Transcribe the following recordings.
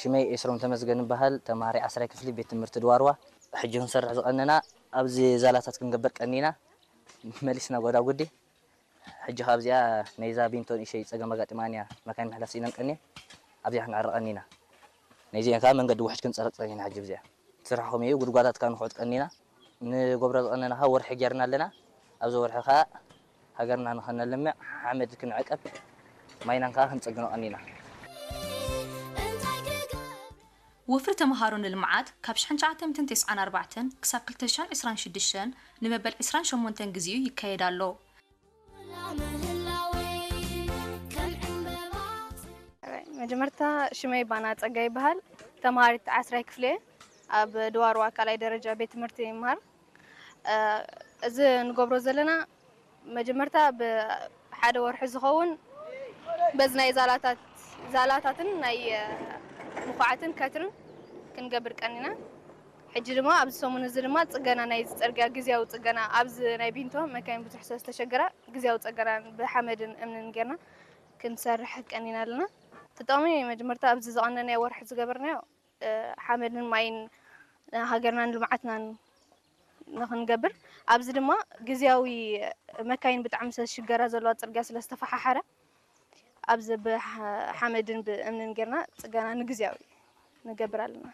ሽመይ ኤስሮም ተመስገን እበሃል። ተማሃሪ ዓስራይ ክፍሊ ቤት ትምህርቲ ድዋርዋ። ሕጂ ክንሰርሕ ዝቐነና ኣብዚ ዛላታት ክንገብር ቀኒና። መሊስና ጎዳጉዲ። ሕጂ ካብዚኣ ናይዛ ቢንቶ ንእሸይ ጸገም ኣጋጢማን እያ። መካይን ምሕላፍ ስኢነን ቀኒን። ኣብዚኣ ክንዕረ ቀኒና። ናይዚአን ከኣ መንገዲ ውሕጅ ክንጸርግ ጸኒሕና። ሕጂ ኣብዚኣ ስራሕ ከምኡ እዩ። ጉድጓዳት ከኣ ንኹዕት ቀኒና። ንገብሮ ዝቐነና ከኣ ወርሒ ጌርና ኣለና። ኣብዚ ወርሒ ከኣ ሃገርና ንኸነልምዕ፣ ሓመድ ክንዕቀብ፣ ማይናን ከኣ ክንጽግኖ ቀኒና። ወፍሪ ተምሃሮ ንልምዓት ካብ ሽሕን ትሽዓተ ሚእትን ተስዓን ኣርባዕተን ክሳብ ክልተ ሽሕን ዕስራን ሽዱሽተን ንመበል ዕስራን ሸሞንተን ግዜኡ ይካየድ ኣሎ። መጀመርታ ሽመይ ባና ጸጋ ይበሃል። ተምሃሪት ዓስራይ ክፍሊ እየ። ኣብ ድዋርዋ ካልኣይ ደረጃ ቤት ትምህርቲ ይምሃር። እዚ ንገብሮ ዘለና መጀመርታ ብሓደ ወርሒ ዝኸውን በዚ ናይ ዛላታት ዛላታትን ናይ ምኩዓትን ከትርን ክንገብር ቀኒና። ሕጂ ድማ ኣብዚ ሰሙን እዚ ድማ ጽገና ናይ ጽርግያ ግዝያዊ ጽገና ኣብዚ ናይ ቢንቶ መካይን ብዙሕ ስለ ዝተሸገራ ግዝያዊ ጽገና ብሓመድን እምንን ጌርና ክንሰርሕ ቀኒና ኣለና። ተጠቕሚ መጀመርታ ኣብዚ ዝቐነናዮ ወርሒ ዝገበርናዮ ሓመድን ማይን ሃገርናን ልምዓትናን ንክንገብር ኣብዚ ድማ ግዝያዊ መካይን ብጣዕሚ ስለ ዝሽገራ ዘለዋ ፅርግያ ስለ ዝተፈሓሓረ ኣብዚ ብሓመድን ብእምንን ጌርና ፅገና ንግዝያዊ ንገብር ኣለና።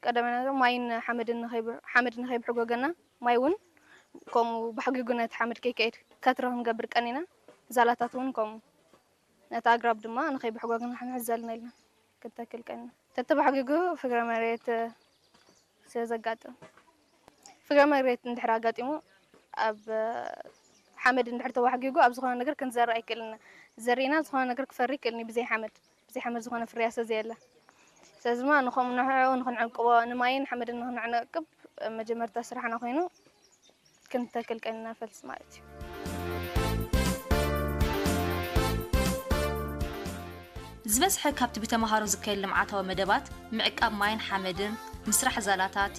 ቀዳማይ ነገር ማይን ሓመድን ንከይብ- ሓመድ ንከይብሕጎገና ማይ እውን ከምኡ ብሕጊጉ ነቲ ሓመድ ከይከይድ ከትሪ ክንገብር ቀኒና ዛላታት እውን ከምኡ ነቲ ኣግራብ ድማ ንከይብሕጎግ ንሕንሕዝ ዘለና ኢልና ክንተክል ቀኒና። ተተባሕጊጉ ፍግረ መሬት ስለ ዘጋጥም ፍግረ መሬት እንድሕር ኣጋጢሙ ኣብ ሓመድ እንድሕር ተባሕጊጉ ኣብ ዝኾነ ነገር ክንዘርእ ኣይክእልን ኢና። ዘሪእና ዝኾነ ነገር ክፈሪ ይክእልን እዩ ብዘይ ሓመድ። ብዘይ ሓመድ ዝኾነ ፍርያት ስለ ዘየለ። ስለዚ ድማ ንኸምኡ ንዕኡ ንክንዕቅቦ ንማይን ሓመድን ንክንዕቅብ መጀመርታ ስራሕና ኮይኑ ክንተክል ቀኒና ፈልሲ ማለት እዩ። ዝበዝሐ ካብቲ ብተምሃሮ ዝካየድ ልምዓታዊ መደባት ምዕቃብ ማይን ሓመድን፣ ምስራሕ ዛላታት፣